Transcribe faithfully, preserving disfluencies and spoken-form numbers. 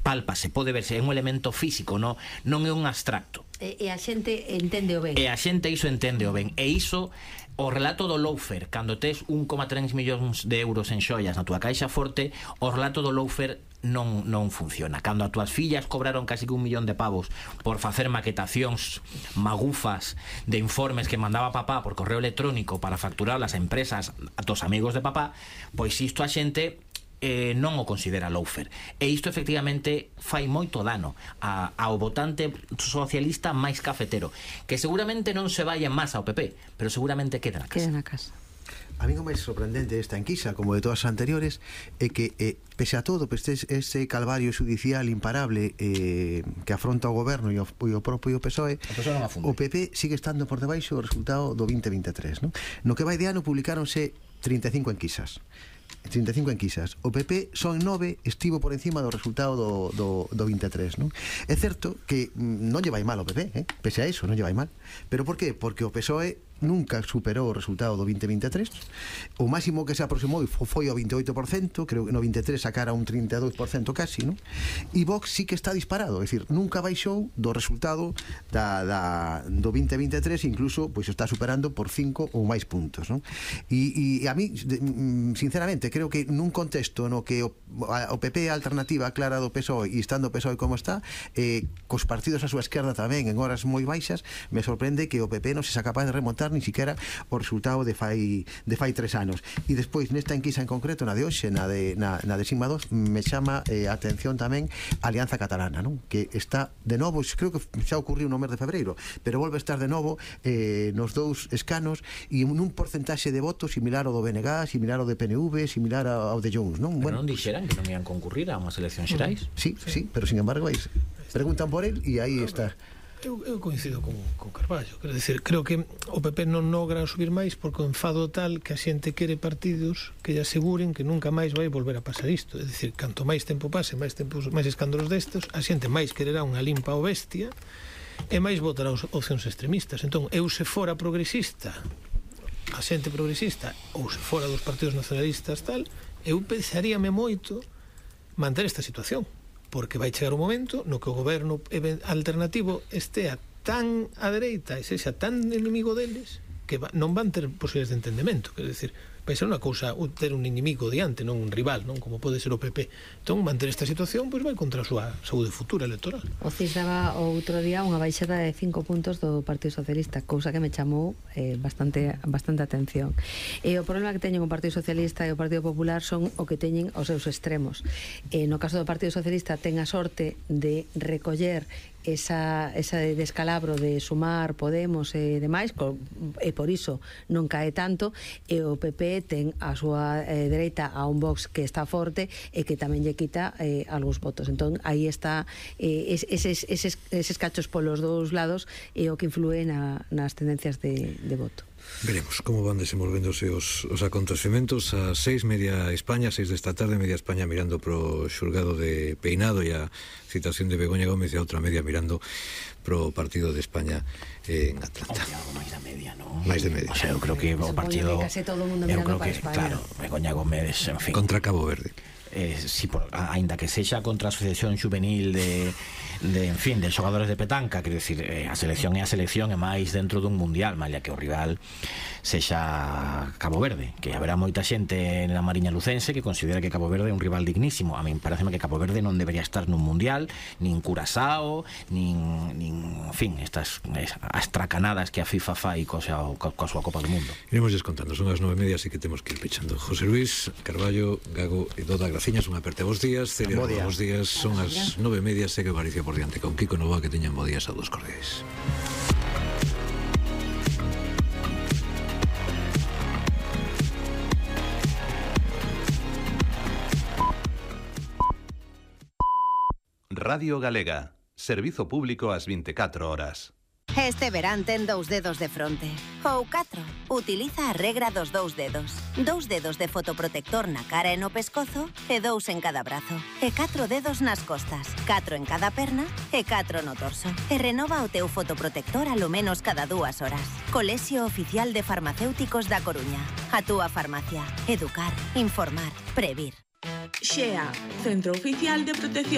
pálpase, pode verse, é un elemento físico, non, non é un abstracto. E, e a xente entende o ben. E a xente iso entende o ben. E iso, o relato do loafer, cando tes un coma tres millóns de euros en xoias na túa caixa forte, o relato do loafer non, non funciona. Cando as túas fillas cobraron casi que un millón de pavos por facer maquetacións magufas de informes que mandaba papá por correo electrónico para facturar as empresas a tos amigos de papá, pois isto a xente eh, non o considera loafer, e isto efectivamente fai moito dano a, ao votante socialista máis cafetero, que seguramente non se vai en masa ao P P, pero seguramente queda na casa. Queda na casa. A mí o máis sorprendente desta enquisa, como de todas as anteriores, é que, eh, pese a todo, este, este calvario judicial imparable eh, que afronta o goberno e o, e o propio P S O E, o P P sigue estando por debaixo do resultado do veinte veintitrés, non? No que vai de ano publicáronse trinta e cinco enquisas. trinta e cinco enquisas. O P P son nove, estivo por encima do resultado do, do, do veintitrés, non? É certo que non lle vai mal o P P, eh? Pese a eso, non lle vai mal. Pero por qué? Porque o P S O E nunca superou o resultado do veinte veintitrés. O máximo que se aproximou foi o veintioito por cento, creo que no veintitrés sacara un trinta e dous por cento casi, non? E Vox sí que está disparado, é dicir, nunca baixou do resultado da, da, do veinte veintitrés, incluso pois está superando por cinco ou máis puntos, non? E, e a mí, sinceramente, creo que nun contexto no que o, a, o P P é a alternativa clara do P S O E, e estando o P S O E como está, eh, cos partidos a súa esquerda tamén en horas moi baixas, me sorprende que o P P non se sea capaz de remontar ni siquiera o resultado de fai de fai tres anos. E despois nesta enquisa en concreto, na de hoxe, na de, na, na de Sigma dos, me chama eh, a atención tamén a Alianza Catalana, non? Que está de novo, creo que xa ocurriu no mes de febreiro, pero volve a estar de novo eh, nos dous escanos e nun porcentaxe de votos similar ao do B N G, similar ao de P N V, similar ao de Junts, non? Pero bueno, non dixeran que non ian concurrir a unhas eleccións xerais? Sí, sí, sí, pero sin embargo veis, preguntan por él e aí está. Eu, eu coincido con, con Carballo, quero decir, creo que o P P non logra subir máis porque o enfado tal que a xente quere partidos que lle aseguren que nunca máis vai volver a pasar isto. É dicir, canto máis tempo pase, máis tempo, máis escándalos destes, a xente máis quererá unha limpa ao bestia e máis votará os opcións extremistas. Entón, eu se fora progresista, a xente progresista, ou se fora dos partidos nacionalistas tal, eu pensaríame moito manter esta situación, porque vai chegar un momento no que o goberno alternativo estea tan á dereita e sexa tan inimigo deles que non van ter posibilidades de entendemento. Quer decir, vai ser unha cousa ter un inimigo diante, non un rival, non como pode ser o P P. Entón, manter esta situación pois vai contra a súa saúde futura electoral. O C I S daba outro día unha baixada de cinco puntos do Partido Socialista, cousa que me chamou eh, bastante bastante atención. E o problema que teñen o Partido Socialista e o Partido Popular son o que teñen os seus extremos. E no caso do Partido Socialista ten a sorte de recoller esa, esa descalabro de Sumar, Podemos e demais, e por iso non cae tanto, e o P P ten a súa eh, dereita a un Vox que está forte e que tamén lle quita eh, algúns votos. Entón, aí está eh, eses, eses, eses cachos polos dous lados e o que influe na, nas tendencias de, de voto. Veremos como van desenvolvéndose os, os acontecementos. A seis media España, seis desta tarde, media España mirando pro xulgado de Peinado e a citación de Begoña Gómez, e a outra media mirando pro partido de España en Atlanta. Hombre, algo máis da media, non? Máis de media. O sea, eu creo que o partido, que case todo o mundo eu mirando creo para que, España. claro, Begoña Gómez, en fin, contra Cabo Verde. Eh, si por, ainda que sexa contra a Asociación Juvenil de, de en fin, de xogadores de petanca, quero dicir, eh, a selección é a selección, é máis dentro dun mundial, malia que o rival sexa Cabo Verde, que haberá moita xente na Mariña Lucense que considera que Cabo Verde é un rival dignísimo. A min pareceme que Cabo Verde non debería estar nun mundial, nin Curazao, nin, nin en fin, estas as tracanadas que a FIFA fai coa, coa súa Copa do Mundo. Iremos descontando, son as nove e media, así que temos que ir pechando. José Luis, Carballo, Gago e Doda, graciñas, unha aperte bons días. Celia, bons días, son as nove e media, segue Galicia por diante con Kiko Nova, que teñan bo días a dos cordiais. Radio Galega, servizo público ás vinte e catro horas. Este verán ten dous dedos de fronte. Ou catro. Utiliza a regra dos dous dedos. Dous dedos de fotoprotector na cara e no pescozo e dous en cada brazo. E catro dedos nas costas. Catro en cada perna e catro no torso. E renova o teu fotoprotector alo menos cada dúas horas. Colexio Oficial de Farmacéuticos da Coruña. A túa farmacia. Educar, informar, previr. Xea, Centro Oficial de Protección